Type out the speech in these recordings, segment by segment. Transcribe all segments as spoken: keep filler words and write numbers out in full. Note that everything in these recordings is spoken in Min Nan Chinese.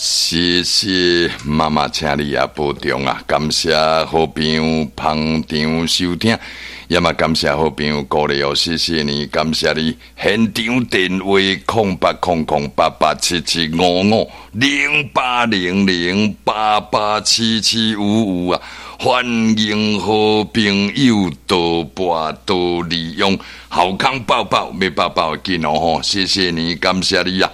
謝謝媽媽，請你也保重啊！感謝好朋友捧場收聽，也嘛感謝好朋友鼓勵哦，謝謝你，感謝你。現場電話空八空空八八七七五五零八零零八八七七五五啊！歡迎好朋友多撥多利用，好康報報，欲報報緊哦吼！謝謝你，感謝你啊！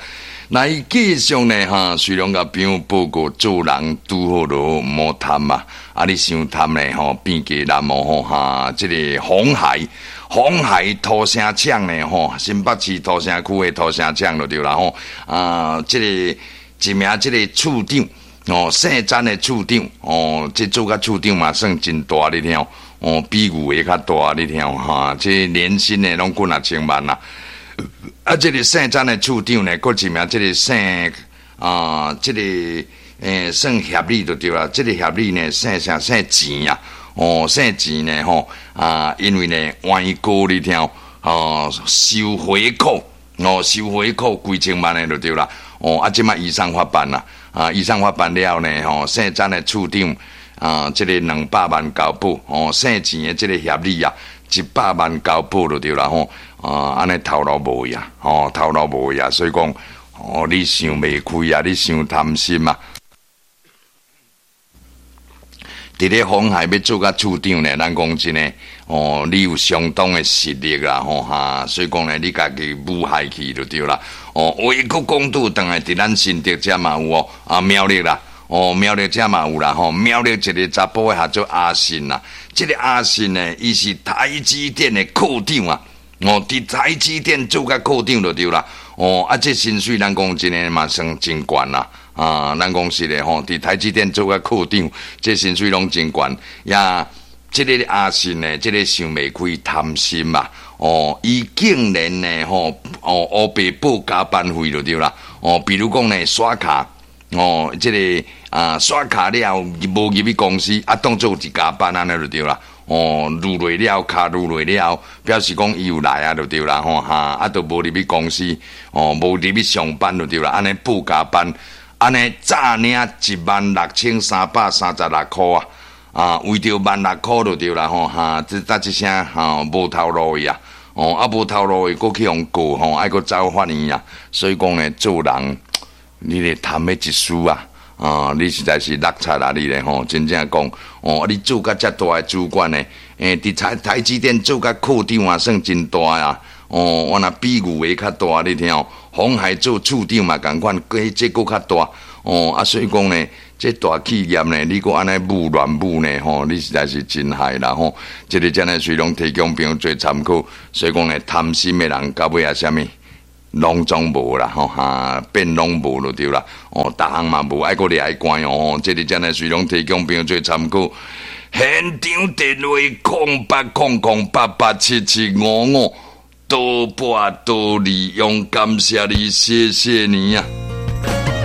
來繼續呢，哈，雖然共朋友報告做人拄好囉，毋好貪啊！啊，你傷貪呢，吼，變雞難哦，吼哈！這個鴻海，鴻海塗城廠呢，吼，新北市塗城區的塗城廠就對啦，吼啊，這個一名這個處長，哦，姓詹的處長，哦，這做甲處長嘛算真大你聽，哦，比牛的較大你聽，哈，這年薪呢攏幾若千萬啦。啊，這個姓詹的處長呢，閣一名這個姓啊，這個欸算協理就對啦。這個協理呢，姓啥？姓錢啊，哦，姓錢呢，吼啊，因為呢，歪哥你聽，哦，收回扣，哦，收回扣幾千萬的就對啦。哦，啊，這擺移送法辦啦，啊，移送法辦了呢，吼，姓詹的處長啊，這個兩百萬交保，哦，姓錢的這個協理啊，一百萬交保就對啦，吼。啊，按呢頭路無呀，吼，頭路無呀，所以講，哦，你想袂開啊，你傷貪心啊！佇咧鴻海欲做甲處長呢，咱講真的，哦，你有相當的實力啦，吼哈，所以講呢，你家己舞害去就對啦。哦，話閣講倒轉來，佇咱新竹遮嘛有哦，啊苗栗啦，哦苗栗遮嘛有啦，吼苗栗一个查埔的號做阿信啦，這個阿信呢，伊是台積電的科長啊。哦，佇台積電做甲科長就對啦。哦，啊，這薪水咱講真的嘛算真懸啦。啊，咱講實的吼，佇台積電做甲科長，這薪水攏真懸。也，這個阿信呢，這個想袂開貪心嘛。哦，伊竟然呢，吼，哦，烏白報加班費就對啦。哦，比如講呢，刷卡，哦，這個啊，刷卡了後無入去公司，啊，當做是加班按呢就對啦。哦，錄落了，卡錄落了，表示講伊有來啊，就對啦，吼哈，啊，都無入去公司，哦，無入去上班就對啦，按呢報加班，按呢詐領一萬六千三百三十六箍啊，啊，為著萬六箍就對啦，吼哈，這搭這聲吼無頭路的啊，哦，啊無頭路的，閣去予告吼，愛閣走法院啊，所以講呢，做人你咧貪彼一絲啊。啊！你實在是落漆啦！你咧吼，真正講哦，你做甲遮大的主管呢？欸，佇台台積電做甲科長啊，算真大啊！哦，我若比牛的較大，你聽哦。鴻海做處長嘛，仝款，這閣較大哦。啊，所以講呢，這大企業呢，你閣按呢舞亂舞呢，吼，你實在是真害啦吼。這個真的隨攏提供朋友做參考，所以講呢，貪心的人到尾啊，啥物？攏總無啦，吼哈，變攏無就對啦。哦，逐項嘛無，愛閣掠關哦。這個真的隨攏提供朋友做參考。現場電話空八空空八八七七五五，多撥多利用，感謝你，謝謝你啊。